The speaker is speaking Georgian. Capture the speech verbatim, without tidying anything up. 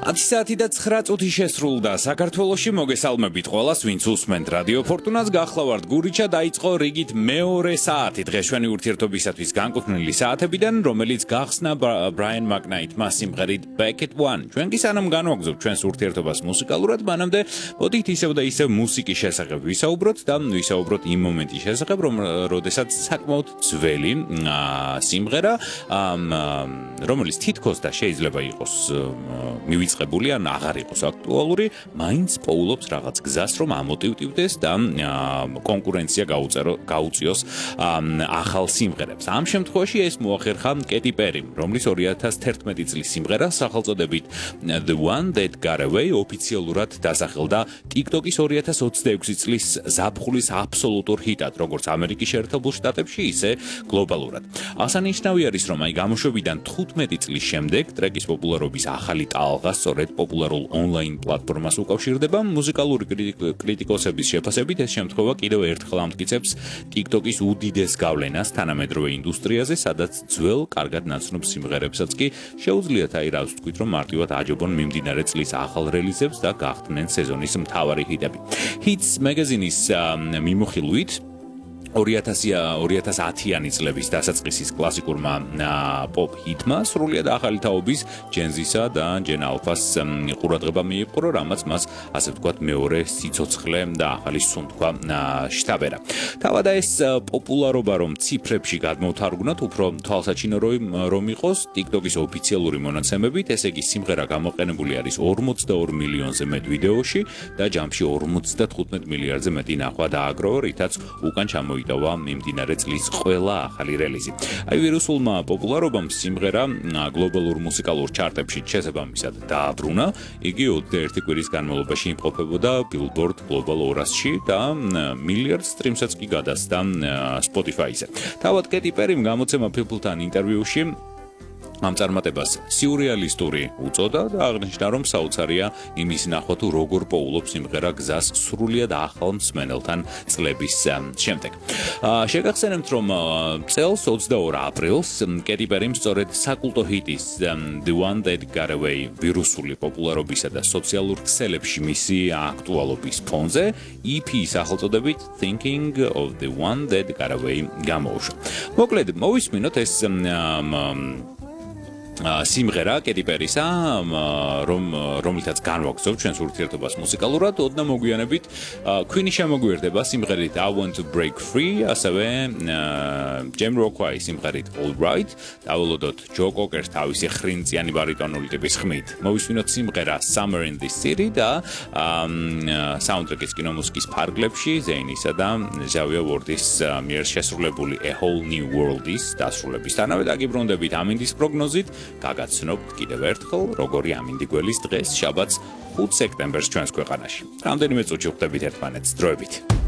ათი საათი და ცხრა წუთი შესრულდა საქართველოში მოგესალმებით ყველას ვინც უსმენთ რადიო ფორტუნას გახლავართ გურიჩა დაიწყო რიგით მეორე საათი დღეშვენი ურთიერთობისათვის განკუთვნილი საათებიდან რომელიც გახსნა ბრაიან მაკნაიტმა სიმღერით Back at One ჩვენ კი სანამ განვაგრძობთ ჩვენს ურთიერთობას მუსიკალურად მანამდე მოდით ისევ და ისევ მუსიკის შესახებ ვისაუბროთ და ვისაუბროთ იმ მომენტის შესახებ რომ როდესაც საკმაოდ ძველი სიმღერა რომელიც თითქოს და შეიძლება იყოს მივიწყებული ან აღარ იყოს აქტუალური, მაინც პოულობს რაღაც გზას, რომ ამოტივტივდეს და კონკურენცია გაუწიოს ახალ სიმღერებს. ამ შემთხვევაში ეს მოახერხა კეტი პერიმ, რომლის ორი ათას თერთმეტი წლის სიმღერა სახელწოდებით The One That Got Away ოფიციალურად დასახელდა TikTok-ის ორი ათას ოცდაექვსი წლის ზაფხულის აბსოლუტურ ჰიტად, როგორც ამერიკის შეერთებულ შტატებში, ისე გლობალურად. აღსანიშნავი არის, რომ აი გამოშვებიდან თხუთმეტი წლის შემდეგ ტრეკის პოპულარობის ახალი ტალღა სწორედ პოპულარულ ონლაინ პლატფორმას უკავშირდება მუსიკალური კრიტიკოსების შეფასებით ეს შემთხვევა კიდევ ერთხელ ამტკიცებს TikTok-ის უდიდეს გავლენას თანამედროვე ინდუსტრიაზე, სადაც ძველ კარგად ნაცნობ სიმღერებსაც კი შეუძლიათ აი რა ვთქვით, რომ მარტივად აჯობონ მიმდინარე წლის ახალ რელიზებს და გახდნენ სეზონის მთავარი ჰიტები. Hits Magazine-ის მიმოხილვით ორი ათას ათიანი წლების დასაწყისის კლასიკურმა პოპ ჰიტმა სრულიად ახალი თაობის ჯენზისა და ჯენ ალფას ყურადღება მიიპყრო, რამაც მას ასე ვთქვათ მეორე სიცოცხლე და ახალი სუნთქვა შთაბერა. თავადა ეს პოპულარობა რომ ციფრებში გადმოვთარგმნოთ, უფრო თვალსაჩინო რომ იყოს TikTok-ის ოფიციალური მონაცემებით, ესე იგი სიმღერა გამოყენებული არის ორმოცდაორ მილიონზე მეტ ვიდეოში და ჯამში ორმოცდათხუთმეტ მილიარდზე მეტი ნახვა დააგროვა, რითაც უკან ჩამოი დავა მიმდინარე წლის ყველა ახალი რელიზი. აი ვირუსულმა პოპულარობამ სიმღერა გლობალურ მუსიკალურ ჩარტებში შესაბამისად დააბრუნა. იგი ოცდაერთი კვირის განმავლობაში იმყოფებოდა Billboard Global ორასში და მილიარდ სტრიმსაც კი გადასცა Spotify-ზე. თავად კეტი პერიმ გამოცემა People-თან ინტერვიუში ამ წარმატებას სიურეალისტური უწოდა და აღნიშნა, რომ საოცარია იმის ნახვა თუ როგორ პოულობს სიმღერა გზას სრულიად ახალ მსმენელთან წლების შემდეგ. შეგახსენებთ, რომ წელს ოცდაორ აპრილს კეტი პერიმ სწორედ საკულტო ჰიტის The One That Got Away ვირუსული პოპულარობისა და სოციალურ ქსელებში მისი აქტუალობის ფონზე ი პი სახელწოდებით Thinking of the One That Got Away გამოუშვა. მოკლედ, მოვისმინოთ ეს სიმღერა კეტი პერისა, რომ რომლითაც განვაგრძობთ ჩვენს ურთიერთობას მუსიკალურად, ოდნა მოგვიანებით Queen-ი შემოგვიერთდება სიმღერით I Want to Break Free, ასევე Jamiroquai სიმღერით All Right, დაველოდოთ ჯო კოკერს თავისი ხრინწიანი ბარიტონული ტიპის ხმით. მოვისმინოთ სიმღერა Summer in this City და საუნდტრეკის კინომუსიკის ფარგლებში ზეინისა და ჟავია ვორდის მიერ შესრულებული A Whole New World-ის დასრულებისთანავე დაგიბრუნდებით ამინდის პროგნოზით. გაგაცნობთ კიდევ ერთხელ, როგორი ამინდი გველის დღეს, შაბათს ხუთ სექტემბერს ჩვენს ქვეყანაში. რამდენიმე წუთში ვხვდებით ერთმანეთს, დროებით.